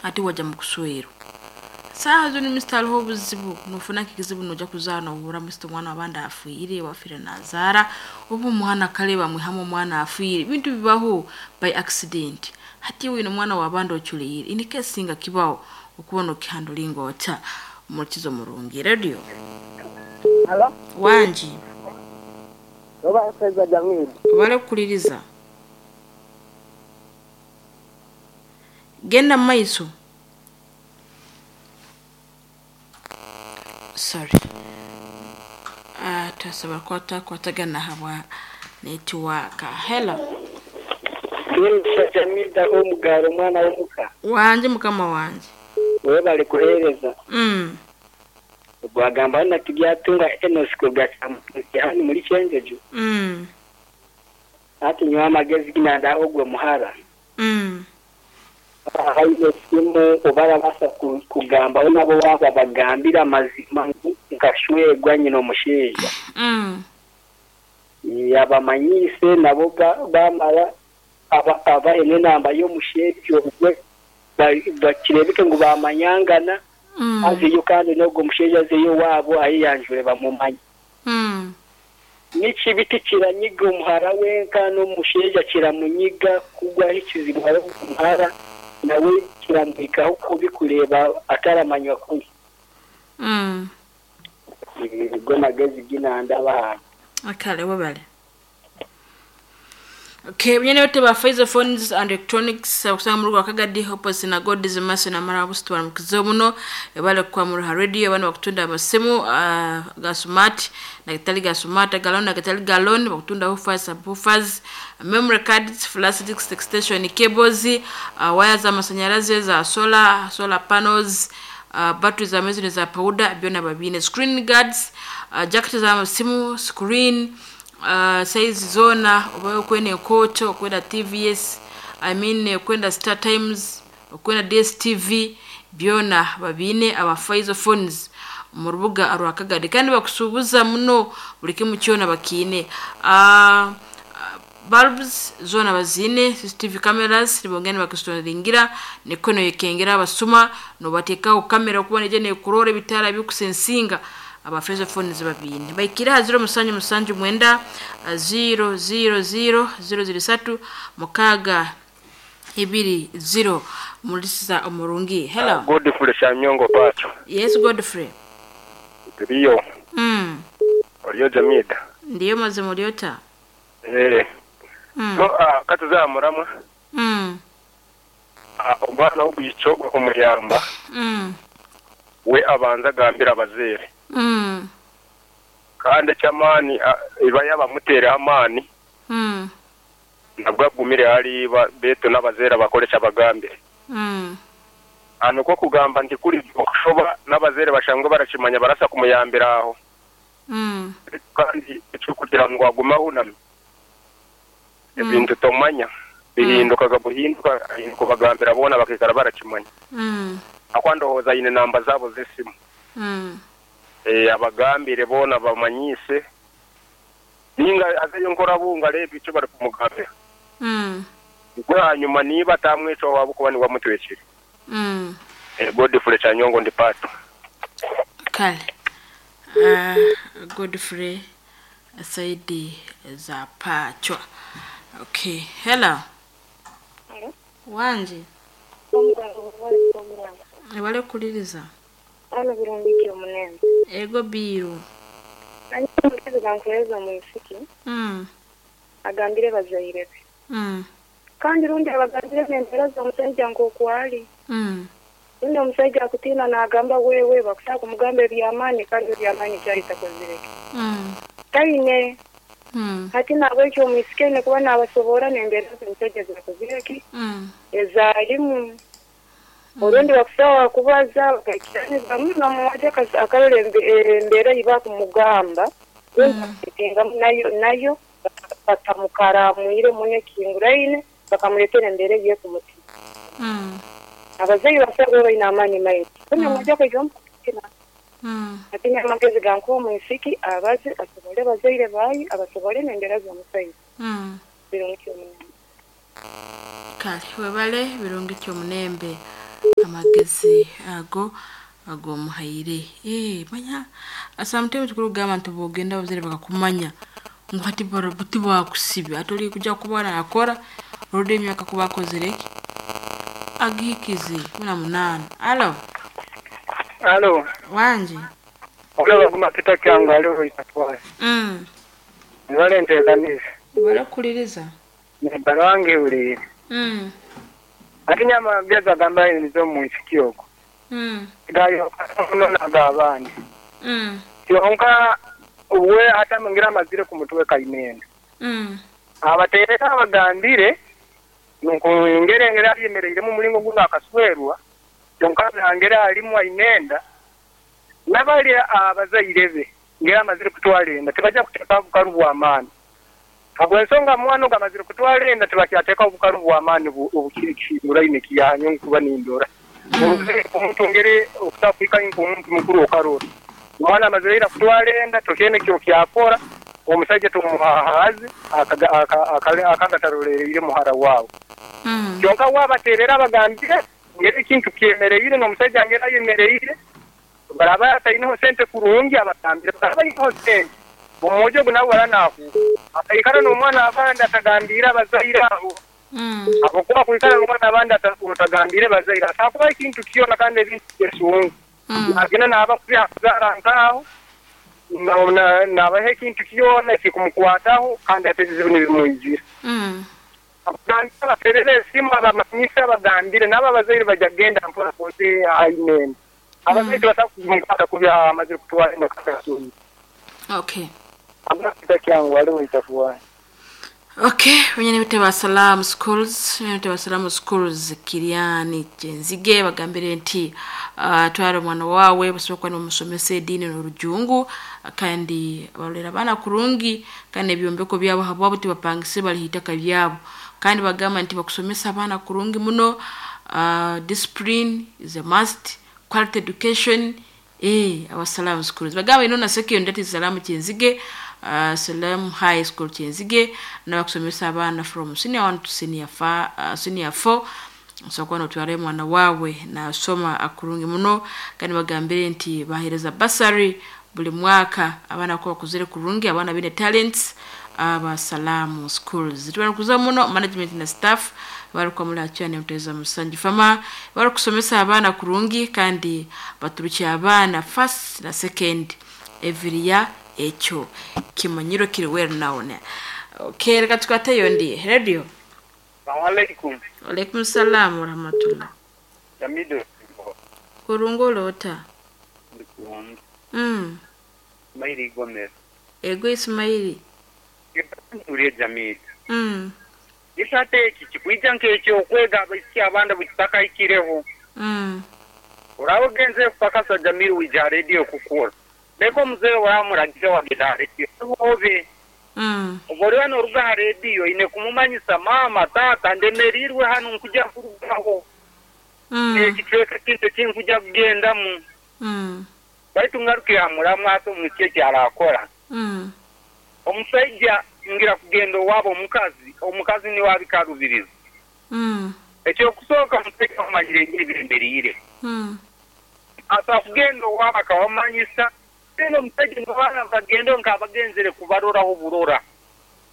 Ati wajya mu kuswerwa. Saaha zinu misita hariho obuzibu, nofuna nk'ekizibu nojya kuzaara nohurra misita omwana w'abandi afiire, owafiire nazaara, oba omwana kare bamwihamu omwana afiire, ebintu bibaho by accident. Hati iwe oine omwana w'abandi ocureire, in case nga kibaho okuba nokihandulinga ota? Omuhurikiza omurungi. Radio. Halo. Wangi. Oba Faiza Jamil. Obare kukuliriza. Genda mumaiso. Sorry. Twasobola kuba twakwatagana ahabwa netiwaaka. Hello. Mbwenu Jamil Omugaaro omwana w'omuka. Wangi mukama wangye. Webale kuhereza. Ogwo agamba na Turyatunga Enos kuruga Kyamutuusi hanu muri Kyenjojo. Hati nyowe amagezi gi nanda ogwo muhara. Aine esimu oba arabaasa kugambaho nabo waaba abagambire amazima ngu nkashwerwa nyine omushaija. Abamanyiise nabo bamara abahe n'enamba y'omushaija ogwe bakireebeke ngu bamanyangana azeyo kandi n'ogwo mushaija azeyo owaabo ayeyanjure bamumanye. Ni kibi tikiranyiga omuhara wenka n'omushaija kiramunyiga kugwaho ekizibu hariho omuhara nawe kiramuhikaho kubi kureeba ataramanywa kubi. Nigo magezi gi nandaba aha. Kale webale. Okay, bunyene yote ba Faiza Phones and Electronics okusanga mu rugo Kagadi opposite na God's Mercy na Mara Busitwara mukizo muno ebale kwa mu radio bano bakutunda amasimu ga smart na gatali ga smart galon na gatali galon bakutunda woofers, subwoofers, memory cards, flash disk extension cables, waya za masanyalaze za solar, solar panels, batteries za mezi za powder byona babine, screen guards, jacket za masimu, screen, size zona oba okwenda enkoto, okwenda TVS, I mean okwenda Star Times, okwenda DSTV byona babine aba Faiza Phones mu rubuga rwa Kagadi kandi bakusuubuza muno buli kimu kyona bakiine. Bulbs zona bazine, CCTV cameras nibongera nibakustoringira niko noyekengera abasuma nobatekaho kamera okuba neija nekurora ebitaara bikusensinga aba Faiza Phones babine. Baikire aha 0779 000 003 6 20 mulisiza omurungi. Hello. Godfrey Shanyongo Pacho. Yes, Godfrey. Ndiyo. Oriyo Jamida. Ndiyo mazima oriota. Eh. So katuzamuramwa. Omwana w'obwicho omuyamba. We abanza agambira abazeere. Kandi eky'amaani iba yabamuteereho amaani. Nabwo agumire hariba betu n'abazeere bakore ekyabagambire. Nikwo kugamba nti kuri okushoba n'abazeere bashangwe barakimanya barasa kumuyambira aho. Kandi ekyokugira ngu agume ahunami. Ebintu tomanya bihindukaga buhinduka kubagambira boona bakikara barakimanya. Akwa ndowooza aine namba zaabo z'esimu. Abagambire boona bamanyise. Ninga azeyo nkorabunga areebe ekyo barikumugambira. Nikwo hanyuma niba atamweco waabo kuba niwe amutwekire. Godfrey Chanyongo ndi Pato. Kale. Godfrey Saidi za Pachwa. Okay, hello. Hello. Wangi. Ebale kuliriza. Ano birungi omunene. Ego biru. Ani mugezi gankuhereza omwisiki. Agambire bazaire be. Kandi rundi abagambire n'embeera z'omushaija nk'oku ari. Rundi omushaija akutiina naagamba wewe bakushaka kumugamba eby'amaani kandi eby'amaani kyaritakozireke. Taine. Hati nahabwekyo omwisiki aine kuba naabasoboora n'embeera z'omushaija zirakozireki ezaarimu. Orundi bakusawa kubaza bakaikiraniza muno omuwaje akarora embeera ei bakumugamba rundi bakaitengamu nayo batamukaramwire muno ekihinguraine bakamureetera embeera ei ekumutima. Abazaire basabe baine amaani maingi. Rundi omuwaje akaija omukutina. Hati n'amagezi gankuha omwisiki abaze asobole abazaire baye abasobole n'embeera z'omushaija. Birungi omunembe. Kale webale birungi kyomunembe. Amagezi ago agomuhaire. Manya sometimes kurugamba nti bwogenda abazaire bakakumanya ngu hati tibakusiba ati ori kuja kuba nakora orudi emyaka kuba akozire ki agihikize 18. Alo. Alo. Wanje. Olaba kumapita kyangu aliho itatwara. Nibale nteekaniza. Barakuliriza. Nibarange uli. Ati nyama geza gamba nizo mu nsiki okwo. Gayo nona abandi. Kyonka we ata mungira amazire ku mutwe kainenda. Abateereka abagambire nuko ngere ngere ayemereire mu mulingo guno akaswerwa kyonka ngere alimu ainenda nabali abazaire be ngere amazire kutwalenda tebajja kuteeka obukalu bw'amaani. Habw'ensonga mwana gamazire kutwalenda tebakyateeka obukalu bw'amaani obukirikimuraine kiyanyu nkuba nindora. Omuntu ngere okutafika omuntu mukuru okarora. Omwana amazire kutwalenda tokene kyo kyakora omusajja tumuhahaze akagatarolere muhara wawe. Kyonka wabaterera abagambire ngere ekintu kyemereire n'omusajja ngere ayemereire baraba atainaho sente kurungi abatambire baraba iho sente omujo gunawe baranaku akaikara n'omwana abandi atagambira abazaire abo. Akokuba kuikara n'omwana abandi atagambire bazaire atakuba ekintu kyona kandi ebintu byesungu. Agenda naba kubyazara nkaho nabahe ekintu kyona kikumukwataho kandi ate ebizibu nibimwijira. Abagambire baterere esimu abamanyisa abagambire nabo abazaire bajja kugenda mpora koze ainene. Abazaire batakumkwata kubya amazire kutwara enda. Okay. Abafika kyangu aliho itafuwa. Okay, wenye biteba Salam Schools, wenye biteba Salam Schools Kiriani Jenzige bagambire nti twara omwana wawe basobola n'omusomesa eddiini n'orujungu kandi abalera abaana kurungi kandi ebyombeko byabo habwabo tibapangise balihitaka byabo kandi bagamba nti bakusomesa abaana kurungi muno. Discipline is a must, quality education. Our Salam Schools bagamba ino na secondary Salam Kyenzige, Salam High School Kyenzige na bakusomesa abaana from senior 1 to senior 5, senior 4 so notware mwana wawe na soma akurungi muno kandi bagambire nti bahereza basari buli mwaka abaana ko bakuzire kurungi abaana bine talents aba Salam Schools. Tubanakuza muno management na staff bariko muri acyane muteza musanji fama bari kusomesa abaana kurungi kandi baturukiye abaana first na second every year ekyo kimanyiro kiri well known. Okay, reka tukateyo ndi radio. Assalamu alaikum. Alaikum salam wa rahmatullah. Jamido. Kurungolota. Ismaili Gomez. Ego Ismaili. Uriye Jamid. Isate eki kikuija nk'ekyo okwega abaisiki abandi bukitakahikireho. Oraba ogenze kupakasa Jamil wija radio kukora. Leka omuzeeyi oramuragize wagenda aha radio. Obe. Obwo noruga aha radio ine kumumanyisa mama tata ndemerirwe hanu nkuja kurugaho. Ekicweka kintu kinkuja kugendamu. Baitu ngaruke hamuramu ate omwishiki eki arakora. Omusajja ngira kugenda owabo omukazi niwe abikarubiriza. Ekyokusooka omusajja amanyire engeri byemereire. Asa kugenda owabo akabamanyisa then omusajja n'abaana bagenda nk'abagenzere kubaroraho burora.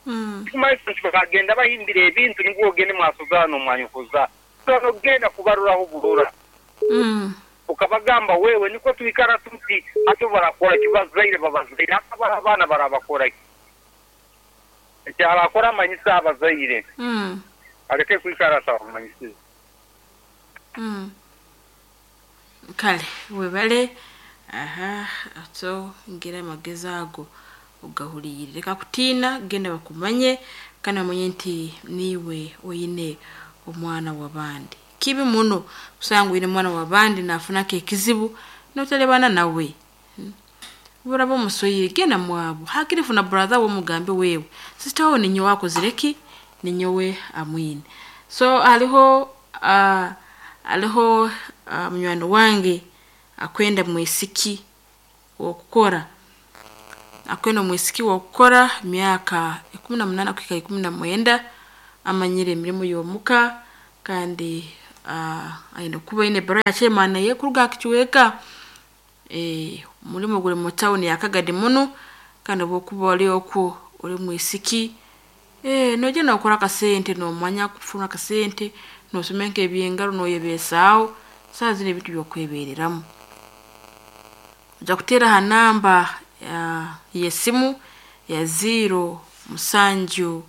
Kumanyisa nti bagenda bahimbira ebintu nibwo ogende mwasozaana omwanyukuza. So nogenda kubaroraho burora. Ukabagamba wewe niko tuikara tuti ate barakora ki bazaire babazaire abaana barabakora ki. Ekyarakora amanyisa abazaire. Aleke kwikara atabamanyisize. Kale webale aha ato ngira amagezi ago ogahurire reka kutiina genda bakumanye kandi bamanye nti niwe oyine omwana w'abandi. Kibi muno kusanga oyine omwana w'abandi nafunako ekizibu notalebana nawe. Buraba omusoyire genda mwabo hakiri funa brother wo mugambe wewe sister wo ninyo wakozireki ninyowe amwine. So haliho munywani wange akwenda mwisiki wokukora akwenda mwisiki wokukora myaka 18 kwika 19 amanyire emirimu y'omuka kandi Aine kuba aine ebbaruha ya chairman ey'ekuruga ha kicweka. Omulimo guri mu tawuni ya Kagadi muno, kandi obu okuba ori okwo ori mwisiki, noija nookora akasente noomanya kufuna akasente, noosoma nk'ebyengaro nooyebeesaaho, saaha zinu ebintu by'okwebeereramu. Ojja kuteera ha namba y'esimu ya 0 7 0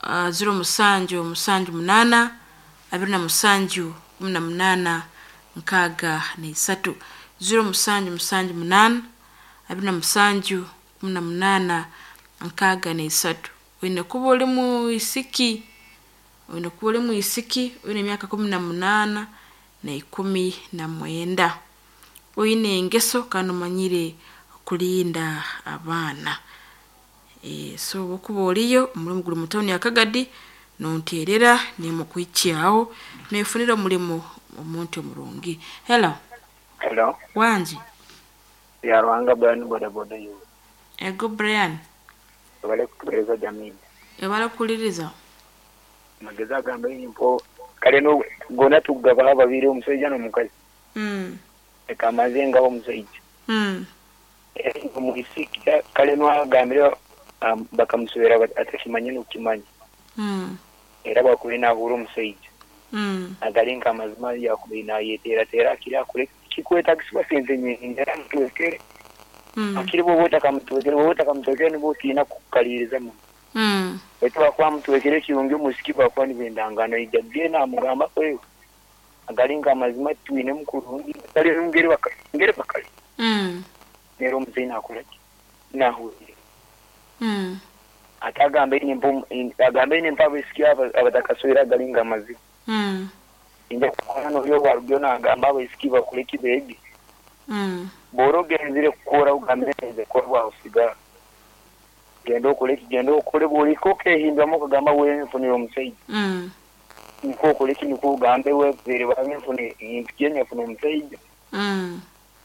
7 7 8 27 18 63. 0 7 7 8 27 18 63. Oine kuba ori mwisiki, oine kuba ori mwisiki oine emyaka 18 na 19. Oine engeso kandi omanyire kulinda abaana. So obu okuba oriyo, omulimo guri mu tawuni ya Kagadi, nonteerera nimukuhikyaho, neefunira omulimo omuntu omurungi. Hello. Hello. Wangi. Byaruhanga Brian boda boda yo. Ego Brian. Webale kutuhereza Jamil. Webale kuhuliriza. Amagezi agamba mpo kale no gona tugabaha babiri omusaija n'omukazi. Leka amaze ngaho omusaija. Omwisiki kale nwagambire bakamuswera atakimanya n'okukimanya. Era bwakubaire nahuura omusaija. Agari nk'amazima yakubaire nayeteerateera akiri akore kikwetagisibwa sente nyingi era amutwekere. Akiri bwoba otakamutwekere, bwoba otakamutwekere nibwo otiina kukaliriza muno. Baitu bwakuba amutwekere ekirungi omwisiki bwakuba nibendangana aija genda amugamba kwewe. Agari nk'amazima titwinemu kurungi kale ngeri bakali. Nero omuzeeyi nakora ki? Nahurira. Ate agambe agambe mpa abaisiki abatakaswire agali nk'amazima. Nja kukora n'ori obwarugiyo nagamba abaisiki bakore ki beege. Bw'ora ogenzire kukora ogambire nze kukora bwakusigara. Genda okore ki? Genda okore bw'ohika okehinduramu okagamba wenfunire omusaija. Nikwo okore ki? Nikwo ogambe webaire babenfune mpikiye nyefuna omusaija.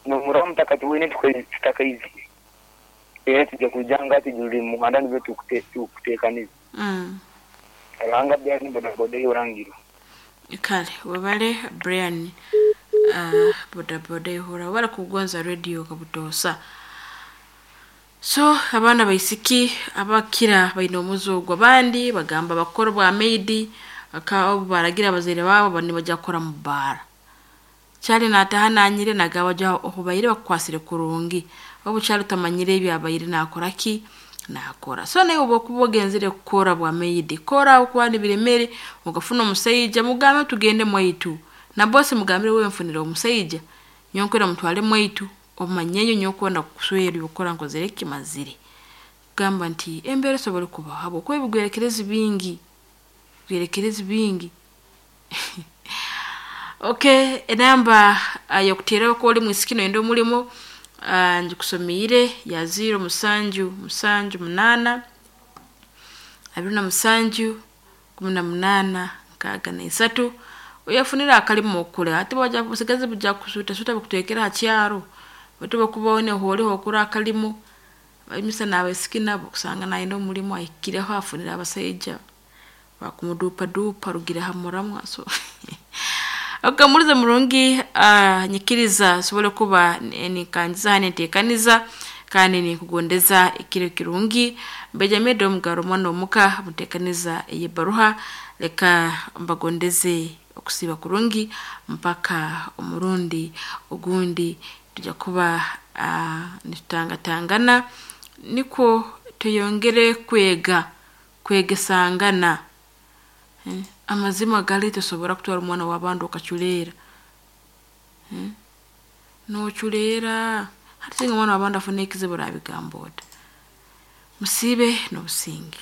Nomuraba mutakatiwine tutakaizire. Era tujja kwija nga tujurire mu muhanda nibyo tukuteekaniza. Ruhanga Brian boda boda yorangirwa. Kale webale Brian boda boda ihura webale kugonza radio kabutoosa. So abaana baisiki abakira baine omuze ogwo, abandi bagamba bakora obwa maid, obu baragira abazaire baabo nibajya kukora mu bbaara. Kyali naataha nanyire nagamba ja ohubaire bakukwasire kurungi, obu kyali otamanyire ebyabaire naakora ki? Naakora. So naiwe obu okuba ogenzire kukora bwa maid, kora habwokuba nibiremere, okafuna omusaija mugambe tugende mwaitu. Na boss mugambire wenfunire omusaija, nyowe nkwenda mutware mwaitu, omanyeyo nyowe kwenda kukuswera ebyokukora nkozire ki? Mazire. Kugamba nti embeera esobora kubaho habwokuba ebigwerekerezi bingi, ebigwerekerezi bingi. Okay, enamba y'okuteeraho kuba ori mwisiki noyenda omulimo, ngikusomiire ya 0 7 7 8 27 18 63. Oyefunire akalimo okore, hati busigazi bujja kusuutasuuta bukutwekere ha kyaro, baitu obu okuba oine horiho okora akalimo, emisana n'abaisiki nabo kusanga nayenda omulimo ahikireho afunire abasaija bakumuduupaduupa arugire ha muramwa so okay, mulize murungi nyikiriza nsobole kuba ninkangiza hanu ninteekaniza kandi ninkugondeza ekiro kirungi. Benjamin Omugaro omwana omuka muteekaniza ey'ebbaruha, leka mbagondeze okusiiba kurungi mpaka omurundi ogundi tujja kuba nitutangatangana nikwo tweyongere kwega, kwegesangana. Amazima gali tosobora kutwara omwana w'abandi okaculeera. Nooculeera, hati singa omwana w'abandi afuna ekizibu orabigamba ota? Musiibe n'obusinge.